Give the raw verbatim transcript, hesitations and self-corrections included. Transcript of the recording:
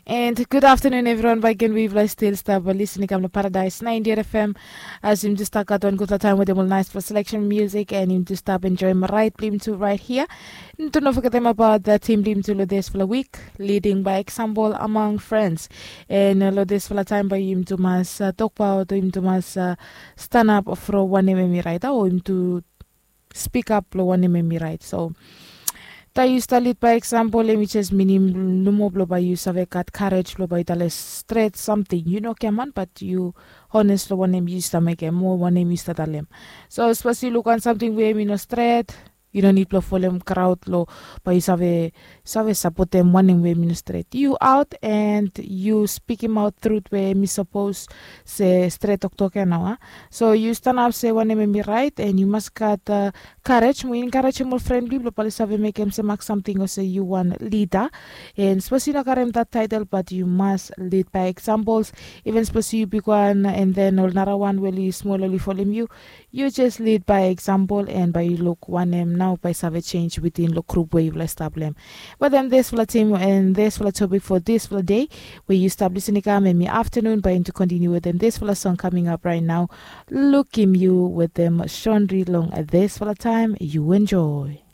And good afternoon everyone, baik gen we yufala stil stap lisin i kam long Paradise ninety-eight F M. As yumi tu stap gat wan gutpela taim wetem ol naispela selection music and yumi tu stap enjoim rait bilong yumi tu right here. Yumi tu no fogetim abaut tim bilong yumi tu long dispela wik, leading by example among friends. And long dispela taim bai yumi tu mas tokbaut, yumi tu mas stanap from wanem em i rait, o yumi tu spikap long wanem em i rait. So taim yu stap lid bai eksampol em i jes minim nomo bilong bai yu save gat karej bilong bai yu talem stret samting, yu no giaman bat yu hones long wanem yu stap mekim o wanem yu stap talem. So sapos yu luk wan samting we em i no stret, yu no nid bilong folem kraud long bai yu save save sapotem wanem we em i no stret. Yu aut and yu spikimaut trut we em i sapos se stret toktok ya nau a. So yu stanap se wanem em i rait and yu mas gat karej mo enkarejem ol fren bilong yu bilong bai yu save mekim se mak samting olsem yu wan lida. And sapos yu no karim dat taitel bat yu mas lid bai eksampols. Even sapos yu bigwan and then ol narawan we ol i smol ol i folim yu, yu jes lid bai eksampol and bai yu luk wanem nau bai save sens witin long grup we yufala i stap long em. Wetem dispela tim and dispela topik fo dispela de we yu stap lisin i kam em i aftanun bai yumi tu kontiniu wetem dispela song kaming ap rait nau. Lukim yu wetem Shonri long dispela taim. Yu enjoy.